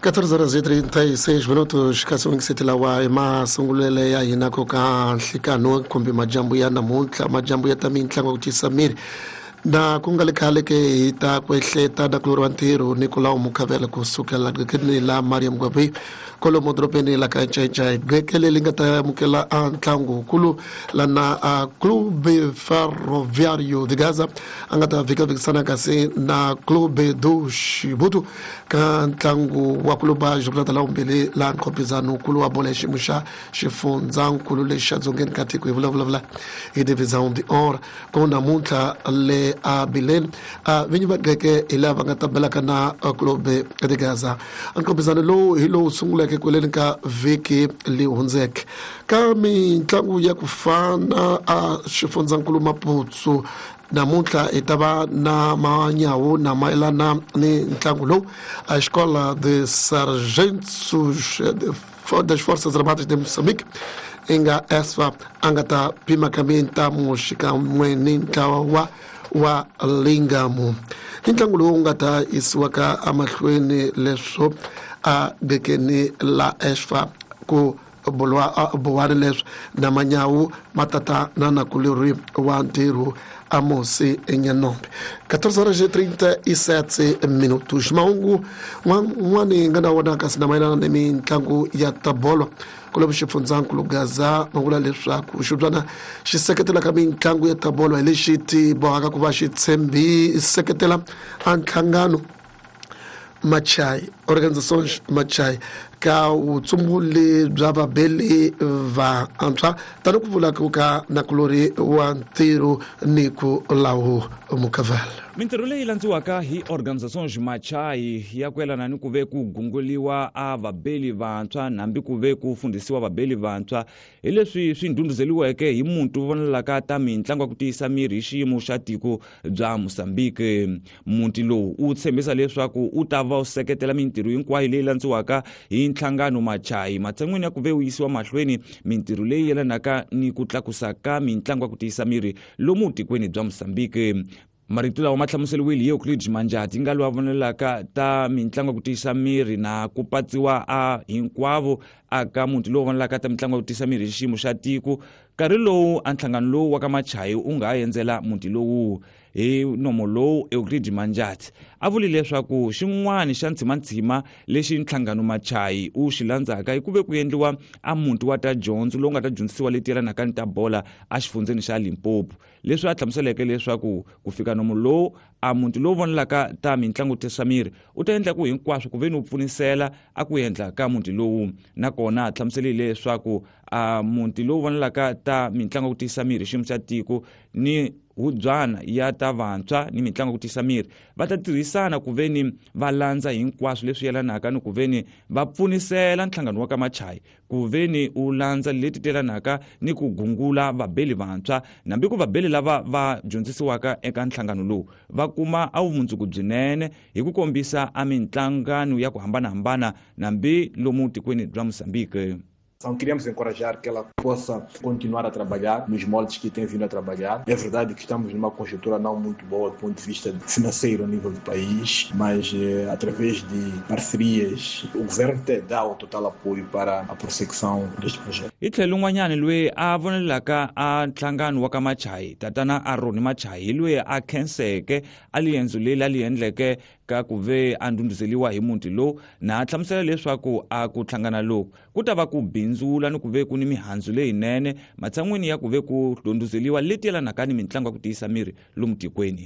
14 horas e 36 minutos kasi wingiseti lawa i masungulele ya hina ko ka nhlikano kumbe majambu ya namuntlha, majambu ya ta mintlangu ya ku tiyisa miri na ku nga le khale ke hi ta ku ehleta na ku loriwa ntirho Nicolau Mukhavela kusukela gqekeni la Mariam Gwabi kolomo dorobeni la ka Ncaincai, gqeke leri nga ta amukela a ntlangu wukulu lana a Clube Ferroviario de Gaza a nga ta vhikavhikisana kasi na Clube do Xibutu ka ntlangu wa kuluba jornada la vumbirhi la nkhopizano wukulu wa bolo ya xiyimo xa xifundzankulu lexi xa dzongeni ka tiko. Hi vulavula hi Divisão de Or ku namuntlha le a Bileni a vinyi va geke hi laha va nga ta belaka na Clube de Gaza. Nkhopizano lowu hi lowu sunguleke kweleni ka vhiki leyi hundzeke ka mitlangu ya ku fana a xifundzankulu Maputsu. Namuntlha hi ta va na manyawu na mayelana ni ntlangu lowu a Escola de Sargentos das Forças Armadas de Moçambique i nga ESFA a nga ta pima ka mintamu xikan'we ni ntlawa wa Lingamu. I ntlangu lowu nga ta yisiwaka emahlweni leswo a gekeni la ESFA ku buwani leswi na manyawu matata na nakulori wa ntirho Amosi Nyanombe. 14 horas e 37 minutos. Mahungu n'wani nga na wona kasi na mayelana ni mitlangu ya tabolo kulomu xifundzankulu Gaza ma vula leswaku xibyana xi seketelaka mitlangu ya tabolo hi lexi ti bohaka ku va xi tshembi seketela a nhlangano Machai, Organizações Machai, ka vutshunguli bya vabeli vantshwa tani ku vula ku ka nakulori wa ntirho ni ku lawu Mukavela. Mintirho leyi landziwaka hi Organizações Machai ya ku yelana ni ku ve ku gunguliwa a vabeli vantshwa hambi ku ve ku fundhisiwa vabeli vantshwa hi leswi swi ndhundhuzeliweke hi muntu vonelaka ta mitlangu ya ku tiyisa miri hi xiyimo xa tiko bya Mozambique. Muti lowu wu tshembisa leswaku wu ta va wu seketela mintirho hinkwayo leyi landziwaka hi nhlangano Machai matshan'wini ya ku ve wu yisiwa mahlweni mintirho leyi yelanaka ni ku tlakusa ka mitlangu ya ku tiyisa miri lomu tikweni bya Mozambique. Marito lawa ma hlamuseriwile hi Euclid Manjati nga loyi a vonelaka ta mitlangu ya ku tiyisa miri na ku patsiwa a hinkwavo aka muti lowu vonelaka ta mitlangu ya ku tiyisa miri hi xiyimo xa tiko nkarhi lowu a nhlangano lowu wa ka Machayi wu nga ha endzela muti lowu. Hi nomo lowu Euclid Manjati a vule leswaku xin'wana xa ntshimantsima lexi nhlangano Machayi wu xi landzaka i ku ve ku endliwa a muti wa ta dyondzo lowu nga ta dyondzisiwa leti yelanaka ni ta bola exifundzeni xa Limpopo, leswi a hlamuseleke leswaku ku fika nomo lowu a muti lowu vonelaka ta mitlangu tisa miri u ta endla ku hinkwaswo ku ve ni wu pfunisela a ku endla ka muti lowu. Nakona a hlamuselile leswaku a muti lowu vonelaka ta mitlangu ku tiyisa miri xiyimo xa tiko ni hubyana ya ta vantshwa ni mitlangu ku tiyisa miri va ta tirhisana ku ve ni va landza hinkwaswo leswi yelanaka ni ku ve ni va pfunisela nhlangano wa ka Machayi ku ve ni u landza leti telanaka ni ku gungula vabeli vantshwa nambi ku vabeli lava va dyondzisiwaka eka nhlangano lowu va kuma a vumundzuku byinene hi ku kombisa a mintlangano ya ku hambanahambana nambi lomu tikweni bya Mozambique. Então, queremos encorajar que ela possa continuar a trabalhar nos moldes que tem vindo a trabalhar. É verdade que estamos numa conjuntura não muito boa do ponto de vista financeiro a nível do país, mas através de parcerias, o governo te dá o total apoio para a prossecução deste projeto. Hi tlhelo un'wanyana loyi a vonelaka a nhlangano wa ka Machayi, tatana Aroni Machayi, hi loyi a khenseke a liendzo leri a li endleke ka ku ve a ndhundhuzeliwa hi muti lowu na a hlamusela leswaku a ku hlangana loku ku ta va ku bindzula ni ku ve ku ni mihandzu leyinene matshan'wini ya ku ve ku ndhundhuzeliwa leti yelanaka ni mitlangu ya ku tiyisa miri lomu tikweni.